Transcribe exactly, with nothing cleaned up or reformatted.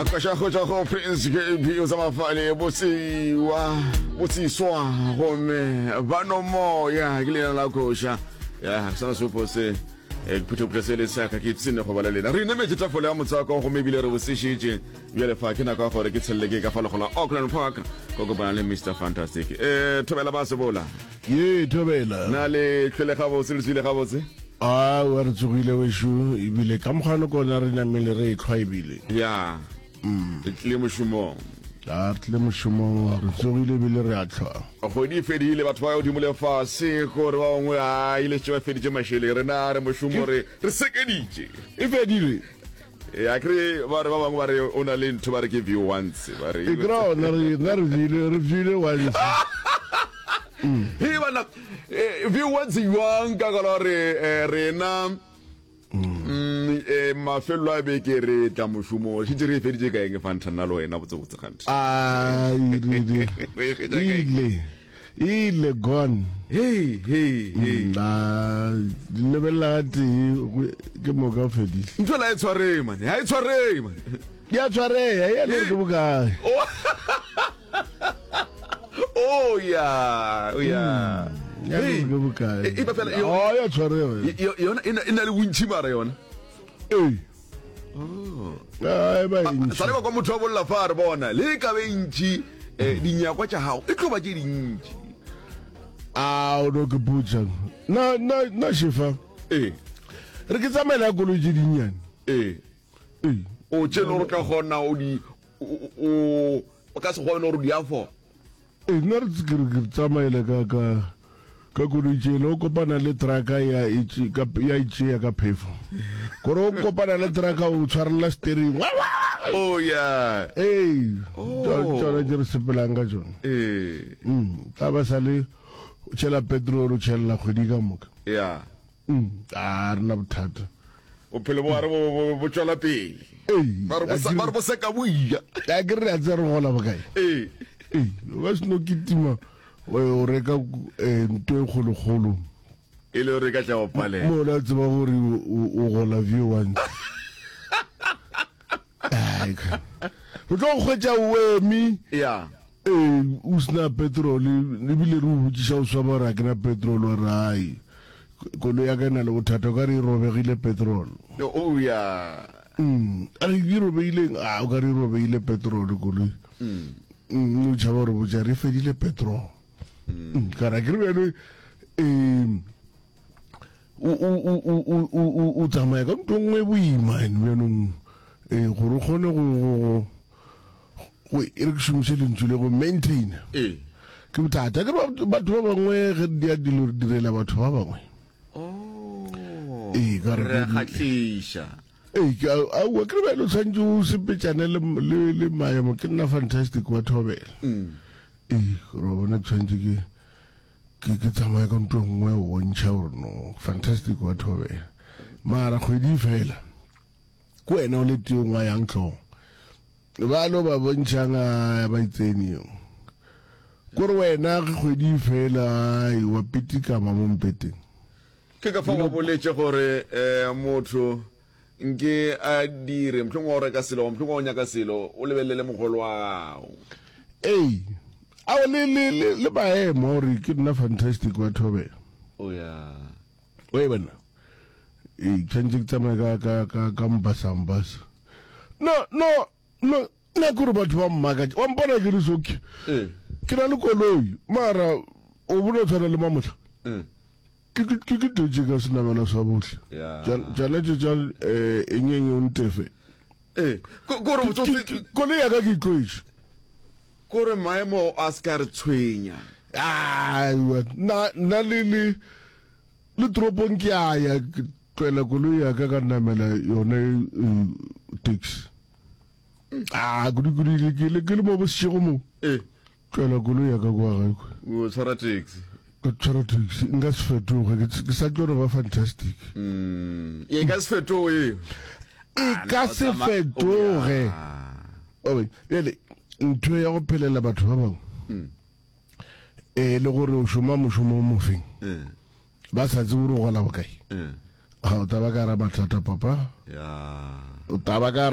Koša go tšwa go Prince K B o sa mafale bosiwa bosiswa gomme ba no moya ke leina la koša ya sona sepo se eh, ke se le saka ke ipsene go ba le lena. Re inemetše tafole ya motswako gomme ebile re bosešitše. Bjale fa ke nako ya gore ke tshelele ke ka fa legola Auckland Park ko kopana le Mister Fantastic. um thobela ba sebola. Ye, thobela. Na le tlhwele gabotse, le tswile gabotse? A wa, re tsogile wešo, ebile ka mokgano kona re namele re etlhwa ebile. Ya, re tlile mošomong. A re tlile mošomong, re tsogile ebile re a tlhwa. Kgwedi e fedile, batho ba godimo le fase gore ba bangwe a ile tše ba feditše mašeleng, rena re mošomo, re re sekeditše. E fedile. Ya kry ba re ba bangwe ba re o na le ntho ba re ke view once ba re. E kry ona re nna re viewile re viewile once. He bana, eh, view once jwang ka gala gore eh, rena mm, eh, mafelelo a beke re tla mošomo, šetse re e feditše ka eng fanta nna le wena botsebotse gante? A ile. Re e fetša ka eng? Ile ile gone. Hey, hey, hey. Na lebelela ga tee go- ke moka o fedile. Ntho la e tshwareng mane, ha e tshwareng mane. Di a tshwareya ya le ke bokae. Oh ya, oh ya. Ya le ke bokae. E- e ba fela yo- Oh, ya tshwareya. Yo- yona e na- e na le bontši mara yona. Ee. Ai, ba ntši. Sale ba kwa motho wa bolla fa re bona le ka be ntši, eh, dinyakwa tša gago e tlo ba tše dintši. A o no ke putsa na na na shefa. Ee. Re ke tsamaela ya koloi tše dinnyane. Ee. Ee. O tše le gore o tla kgona o di o- o o ka se kgone gore o di afford. Ee, nna re ke re ke tsamaela ka ka ka koloi tšele, o kopana le trucka ya e tše- ka ya e tšea ka phefo, gore o kopana le trucka o tshwarelela steering. Oh ya. Ee. Oh. Tsona tše re sepelang ka tsona. Ee. Mm, tla ba sa le o tšhela petrol, o tšhelela kgwedi ka moka. Ya. Mm, a re na bothata. Bophelo bo gare bo bo- bo tšwela pele. Ee. Ba re bo sa- ba re bo seka boia. A ke re a tse re gola bokae. Ee. Ee, o ka se no kitima o o reka eh, nto e kgolokgolo. E le gore e ka tla go palela. Mo la tseba gore o- o o gola view once. Ai, ka- re tlo go hwetša o eme. Ya. Ee, o sena petrol, ebile re o botšiša o swaba gore a ke na petrol, wa re ai, koloi ya ka e na le bothata, o ka re e robegile petrol. Oh ya. Mm, a re e robeileng? A o ka re e robeile petrol koloi. Mm, o tšhaba gore botša re fedile petrol. Mm, ka ra ke re bjale um o o- o- o- o- o- o- o tsamaya ka ntho nngwe e boima ene bjanong, um gore o kgone go go- go go e re ke šomiše lentšu le go maintain. Ee. Ke bothata ke re batho batho ba bangwe ge di ya dilo re direla batho ba bangwe. Oh. Ee, ka re re a ke- kgahliša. Ee, ke a- aowa, ke re bjale o tshwanetse o sepetšane le, le, le maemo. Ke nna Fantastic wa thobela. Mm. Ee, gore wa bona ke tshwanetse ke ke ke tsamaye ka ntho e nngwe go bontšha gore no Fantastic wa thobela, mara kgwedi e fela ke wena o le teong wa yang tlhogo ba lo ba bontšhang a ba itsene eo kore wena ge kgwedi e fela ai, wa pitikama mo mpeteng. Ke ka fa ba boletše gore um motho nke a dire mohlomongwe wa go reka selo goba mohlomongwe wa go nyaka selo, o lebelele mogolo wa gago. Ee, ao le le le le maemo a gore ke nna Fantastic wa thobela. O ya. O e bona, ee, tshwanetse ke tsamaye ka ka ka ka mbasa mbasa. No, no, no, nna ke gore batho ba mmakatša, wa mpona ke le soke. Ee. Ke na le koloi, mara o bona o tshwana le mamohla. Mm. Ke ke ke ke tletše ka senamela sa bohle. Ya. Tša- Tšona tše tša eh, eng eng o ntefe. Ee, ko gore Ke- botsotsi ke- Koloi ya ka ke itlwaetše. Kore maemo a se ka re tshwenya. Aiwa, nna nna le le le toropong ke a ya, ke tlwaela koloi ya ka ka namela yone eh, taxi. Ah, kudu kudu le ke le ke le mo bošego mo. Ee. Tlwaela koloi ya ka kwa gae kwa. O tshwara taxi. Ka tshwara taxi, nka se fetoge, ke ke sa tlo no ba Fantastic. Mm. E ka se fetoge. E ka se fetoge. Obe, bjale ntho ya go phelela batho ba bangwe e le gore o šoma mošomo o mofeng, ba sa tsebe gore o gola bokae, ga o taba ka ra mathata papa. Ya. O taba ka